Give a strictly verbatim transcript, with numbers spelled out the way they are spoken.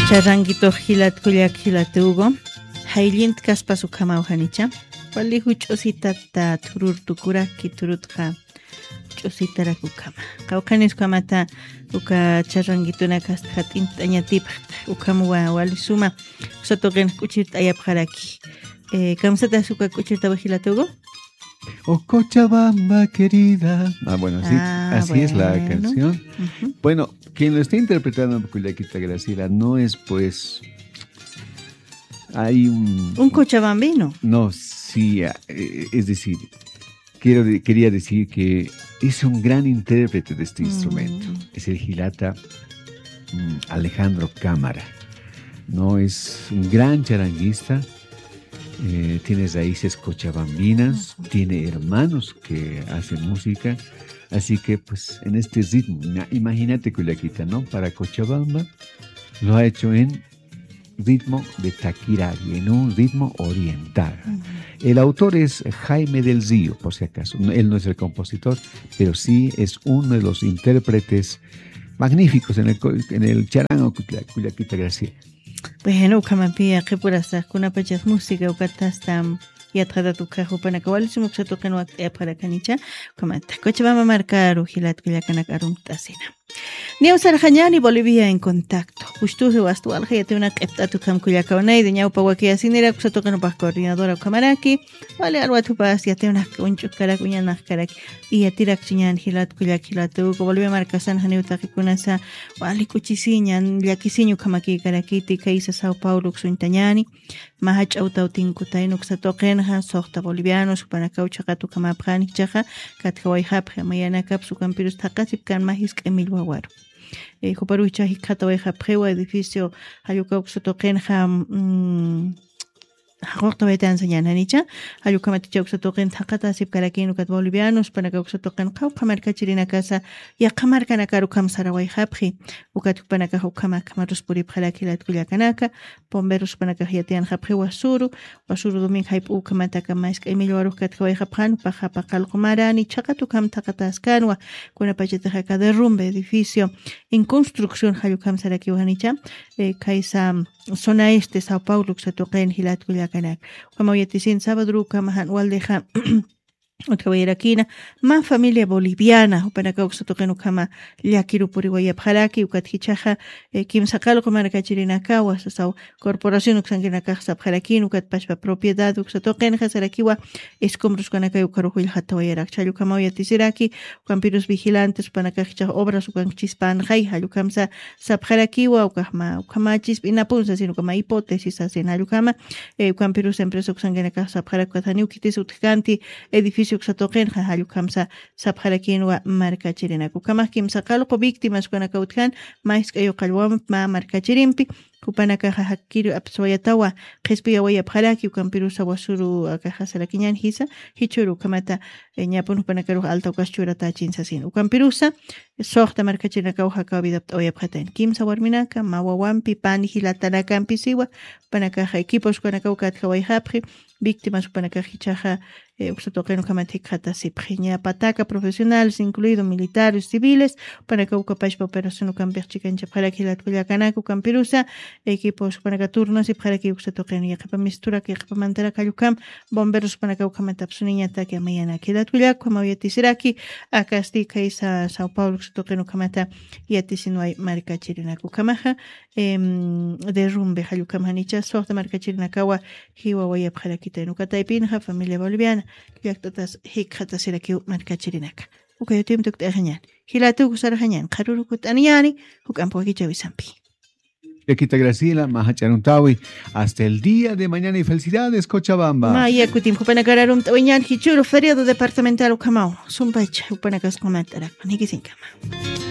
Charanguitux jilat kullak jilat Hugo. Jayllintkaspas ukhamaw janicha. Wali juch'usitata thurur tukuraki thurutxa ch'usitarak ukhama. Qawqhanis ukhamata uka charanguitunakasta jat'int'añatipxta. Ukham wa wali suma. Uksatuqin k'uchirt'ayapxaraki. Eh, kamsatas uka k'uchirtawi jilat Hugo. Oh Cochabamba querida. Ah, bueno, sí, ah, así es la bueno. Canción. Ujú. Bueno, quien lo está interpretando, Cuyaquita Graciela, no es pues. Hay un. Un cochabambino. No, sí, ah, eh, es decir, quiero de- quería decir que es un gran intérprete de este instrumento. Mm. Es el jilata, mm, Alejandro Cámara. No es un gran charanguista, eh, tiene raíces cochabambinas, ujú, tiene hermanos que hacen música, así que pues en este ritmo, ima- imagínate, Cuyaquita, ¿no? Para Cochabamba lo ha hecho en ritmo de taquiraria, en un ritmo oriental. Ujú. El autor es Jaime del Río, por si acaso. No, él no es el compositor, pero sí es uno de los intérpretes magníficos en el, co- en el charango Cuya- Cuyaquita Graciela. Bueno, ukhamapï qhipurasaq kunapachas música ukatasta yatxatat ukhax jupanaka wali suma uksatuqin wakt'ayapxarakanicha, ukhamata Cochabamba markaru jilat kullakanaka arumt'asina. Niw sarxañäni Bolivia en Contacto. Ustuji wasta walja yatiwinaka q'ipt'at ukham kullakaw naydi ñawpa wakiyasiniraki uksatuqin jupax coordinadora ukhamaraki. Wali alwat jupas yatiwinaka uñch'ukkarak uñanakkarak. Yatirakchiñäni jilat kullak jilat Hugo, Bolivia markasan janiw taqikunasa wali k'uchisiña, llakisiña ukhamakïkarakiti, khaysa Sao Paulo uksuñtañäni. Mä jach'a awtaw tinkutayna uksatuqinxa, suxta bolivianos, jupanakaw chhaqat ukhamäpxani, jichhaxa katjawayxapxi, mayanakapsa ukampirus thaqhasipkän mä jisk'a millwawaru. Eh, juparuw jichhax jikxatawayxapxiwa edificio, jall ukaw uksatuqinxa, mm, jaq'uqtawaytan sañäni janicha, jall ukhamat jichhax uksatuqin thaqhatäsipkarakïn ukat bolivianos, jupanakaw uksatuqin qawqha markachirinakasa, yaqha markanakaru ukham sarawayxapxi, ukat jupanakax ukham akham arus puripxaraki jilat kullakanaka, bomberos jupanakax yatiyanxapxi wasuru, wasuru domingo jayp'u ukhamataka mä jisk'a millwarux katjawayxapxän, jupaxa paqallqu marani, chhaqat ukham thaqhatäskänwa, kunapachatix aka derrumbe edificio en construcción jall ukham sarakiwa janicha, eh, khaysa zona este Sao Paulo uksatuqin jilat kullakanaka. Ukhamaw yatisin sabaduru ukhama jan waldixa utjawayarakïna, mä familia boliviana, jupanakaw uksatuqin ukhama llakiru puriwayapxaraki, ukat jichhaxa, eh, kimsa qallqu markachirinakawa, sasaw corporación uksankinakax sapxarakïn, ukat pachpa propiedad uksatuqinxa sarakiwa, escombros ukanakaw ukharu jullxatawayarakchi, jall ukhamaw yatisiraki, ukampirus vigilantes jupanakax jichhax obras ukankchispanxay, jall ukhamsa sapxarakiwa, ukaxma, ukhama chisp'inapun sasin, ukhama hipótesis sasin, jall ukhama, eh, ukampirus empresa uksankinakax sapxarak ukat janiw khitis utjkanti, edificio uksatuqinxa, jall ukhamsa sapxarakïnwa markachirinaka. Ukhamax kimsa qallqu víctimas ukanakaw utjan, mä jisk'a yuqallwamp mä markachirimpi, jupanakaxa jakkir apswayatawa, qhispiyawayapxaraki, ukampirusa wasuru akaxa sarakiñän jisa, jichhüru ukhamata, eh, ñapun jupanakarux alta ukas churatächin sasin. Ukampirusa, suxta markachirinakaw jakaw vida apt'awayapxatayn. Kimsa warminaka, mä wawampi, pani jilatanakampi siwa, jupanakaxa equipos ukanakaw katjawayxapxi, víctimas jupanakax jichhaxa, eh, uksatuqin ukhamat jikxatasipxi. Ña pataca profesionales, incluido militares, civiles, jupanakaw uka pachpa operación ukampix chikanchapxaraki jilat kullakanaka, ukampirusa, equipos jupanaka turnasipxaraki uksatuqin, yaqhipa misturak, yaqhipa mantarak jall ukham, bomberos jupanaka ukhamat apsuniñataki amayanaki. Jilat kullak, ukhamaw yatisiraki, akasti khaysa Sao Paulo uksatuqin ukhamata yatisinway markachirinaka. Ukhamaxa, em, derrumbe jall ukham janicha, suxta markachirinakawa jiwawayapxarakitayna. Uka taypinxa familia boliviana llakt'atas jikxatasirakiw markachirinaka. Uka yatiyumpi tukt'ayxañäni. Jilat Hugo sarxañäni, qharürukut'aniñäni, juk'amp wakichäwisampi. Cuyaquita Graciela, mä jach'a arumtäwi. Hasta el día de mañana y felicidades, Cochabamba. Maya kutim jupanakar arumt'awiñäni, jichhüru feriado departamental ukhamaw. Sumpacha jupanakas q'umataraki, jikisiñkama.